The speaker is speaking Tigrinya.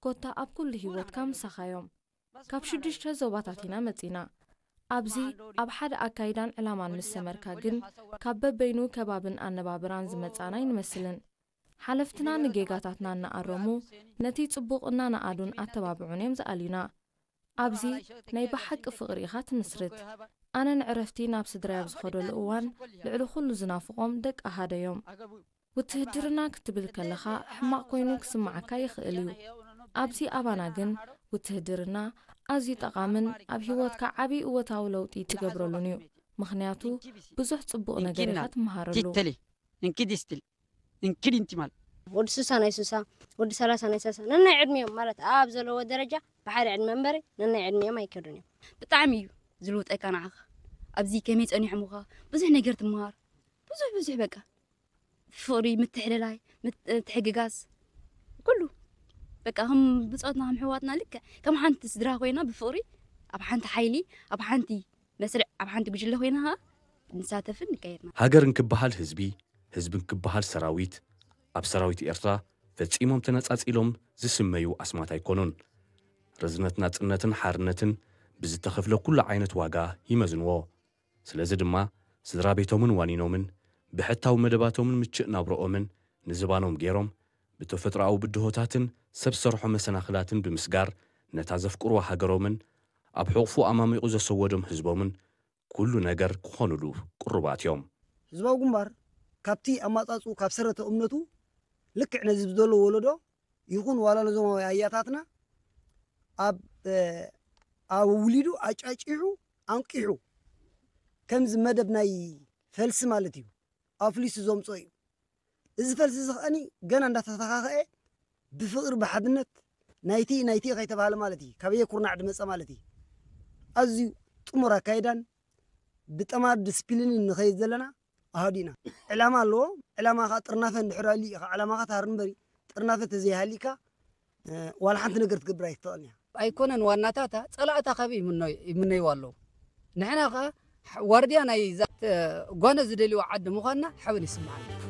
ኮታ ኣብ ኩሉ ህይወትካ ምሳኻ እዮም። ካብ ሽዱሽተ ዞባታት ኢና መጺና። ኣብዚ ኣብ ሓደ ኣካይዳን ዕላማን ምስ ሰመርካ ግን፣ ካብ በበይኑ ከባብን ኣነባብራን ዝመጻና ኣይንመስልን። ሓለፍትና ንጌጋታትና እናኣረሙ፣ ነቲ ጽቡቕ እናነኣዱን ኣተባብዑን እዮም ዝኣልዩና። ኣብዚ ናይ ብሓቂ ፍቕሪ ኢኻ ትምስርት። ኣነ ንዕረፍቲ ናብ ስድራይ ኣብ ዝኸደሉ እዋን፣ ልዕሊ ኩሉ ዝናፍቖም ደቂ ኣሃደዮም። ውትህድርና ክትብል ከለኻ ሕማቕ ኮይኑ ክስምዓካ ይኽእል እዩ። ኣብዚ ኣባና ግን ውትህድርና ኣዝዩ ጠቓምን ኣብ ህይወትካ ዓቢ እወታዊ ለውጢ ትገብረሉን እዩ። ምኽንያቱ ብዙሕ ጽቡቕ ነገር ኢኻ ትመሃረሉ። Tittali, inki distil, inki dintimal. ወዲ ሱሳ ናይ ሱሳ፣ ወዲ ሰላሳ ናይ ሰላሳ፣ ነናይ ዕድሚኦም ማለት ኣብ ዘለዎ ደረጃ ብሓደ ዕድመ እምበሪ ነናይ ዕድሚኦም ኣይከዱን እዮም። ብጣዕሚ እዩ ዝልውጠካ ንዓኻ። ኣብዚ ከመይ ጸኒሖምኻ ብዙሕ ነገር ትመሃር፣ ብዙሕ ብዙሕ በቃ ፍቕሪ፣ ምትሕልላይ፣ ምት- ምትሕግጋዝ፣ ኩሉ በቃ ከም ብጾትና ከም ኣሕዋትና ልክዕ ከም ሓንቲ ስድራ ኮይና ብፍቕሪ ኣብ ሓንቲ ሓይሊ ኣብ ሓንቲ መስርዕ ኣብ ሓንቲ ጉጅለ ኮይና ኸኣ ንሳተፍን ንቀየድና። ሃገር እንክበሃል ህዝቢ፣ ህዝቢ እንክበሃል ሰራዊት፣ ኣብ ሰራዊት ኤርትራ ፈጺሞም ተነጻጺሎም ዝስመዩ ኣስማት ኣይኮኑን። ርዝነት ናጽነትን ሓርነትን ብዝተኸፍለ ኩሉ ዓይነት ዋጋ ይመዝንዎ። ስለዚ ድማ ስድራ ቤቶምን ዋኒኖምን ብሕታዊ መደባቶምን ምችእ ናብረኦምን ንዝባኖም ገይሮም ብተፈጥሮኣዊ ብድሆታትን ሰብ ሰርሖ መሰናኽላትን ብምስጋር ነታ ዘፍቅርዋ ሃገሮምን ኣብ ሕቑፉ ኣማሚቑ ዘሰወዶም ህዝቦምን ኩሉ ነገር ክኾኑሉ ቅሩባት እዮም። ህዝባዊ ግንባር ካብቲ ኣማጻጽኡ ካብ ሰረተ እምነቱ ልክዕ ነዚ ብዘሎ ወለዶ ይኹን ዋላ ነዞም ኣያታትና ኣብ ኣውሊዱ ኣጫጪሑ ኣንቂሑ ከምዚ መደብ ናይ ፈልሲ ማለት እዩ ኣፍሊሱ ዘምጾ እዩ። እዚ ፈልሲ እዚ ከኣኒ ገና እንዳተተኻኸአ ብፍቕሪ ብሓድነት ናይቲ ናይቲ ከይተባሃለ ማለት እዩ ካበየ ኩርናዕ ድመፀ ማለት እዩ። ኣዝዩ ጥሙር ኣካይዳን ብጠማር ዲስፕሊንን ንኸይድ ዘለና ኣሃዱ ኢና። ዕላማ ኣለዎ። ዕላማ ከዓ ጥርናፈ እንድሕር ኣልዩ ኢኻ ዕላማኻ ትሃር እምበሪ ጥርናፈ ተዘይሃሊካ ዋላ ሓንቲ ነገር ትገብር ኣይትኽእልን እያ። ኣይኮነን ዋናታታ ፀላእታ ካበይ ይምነይዋ ኣለዉ። ንሕና ከዓ ዋርድያ ናይ ዛት ጓነ ዝደልይዋ ዓዲ ምዃንና ሓበን ይስምዓና።